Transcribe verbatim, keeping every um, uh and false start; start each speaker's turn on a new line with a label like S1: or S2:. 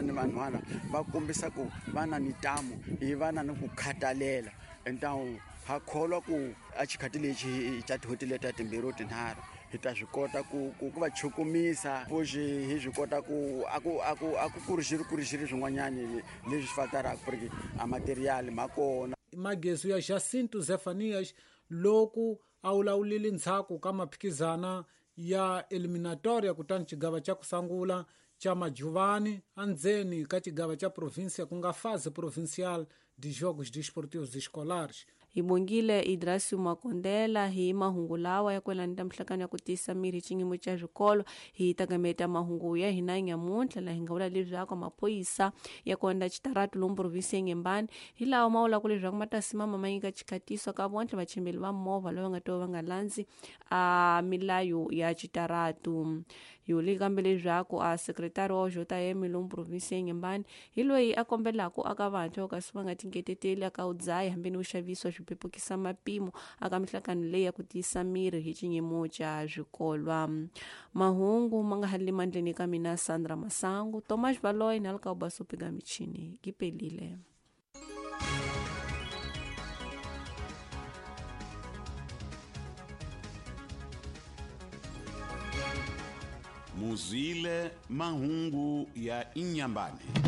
S1: Ni vanhwana va kombisa ku va na ntamu hi va na ni ku khatalela entawu ha kholwa ku a xikhati lexi xa tin'hweti leta timbirhi tinharhu hi ta swi kota ku ku va chukumisa fuxi hi swi kota ku a ku a ku a ku ku ri xi ri ku ri xi ri swin'wanyani leswi fataraka ku ri a material ma kona.
S2: Magezu ya Jacinto Zefanias loku a wulawulile ndzhaku ka maphikizana ya eliminatoria kutani xigava xa kusangula cha majuvani andzeni ka xigava cha província ku nga fase provincial de jogos desportivos escolares.
S3: Hi bongile Idrasio Makondela hi mahungu lawa ya kwelana ta mihlangano ya ku tiyisa miri hi xiyimo xa swikolo. Hi tagameta mahungu ya hina nyamuntlha laha hi nga vula leswaku maphorisa ya konda xitaratu lomu provinsi ya Inhambane hi lawa ma vulaka leswaku ma ta simama ma nyika xikhatiso ka vontlhe vachimbeli va movha lava nga ta va nga landzi a milayo ya xitaratu. Hi vule kambe leswaku a sekretari wa J M lomu provinsi ya Inhambane hi loyi a kombelaka aka vantshwa kasi va nga tingeteteli aka u dzaya hambi ni u xavisiwa swipepukisa mapimo aka mihlangano leyi ya ku tiyisa miri hi xinyimo xa swikolwa. Mahungu ma nga hali mandleni ka mina Sandra Masangu, Thomas Valoy na Alkauba Sopiga michini kipelile.
S4: Muzile mahungu ya Inhambane.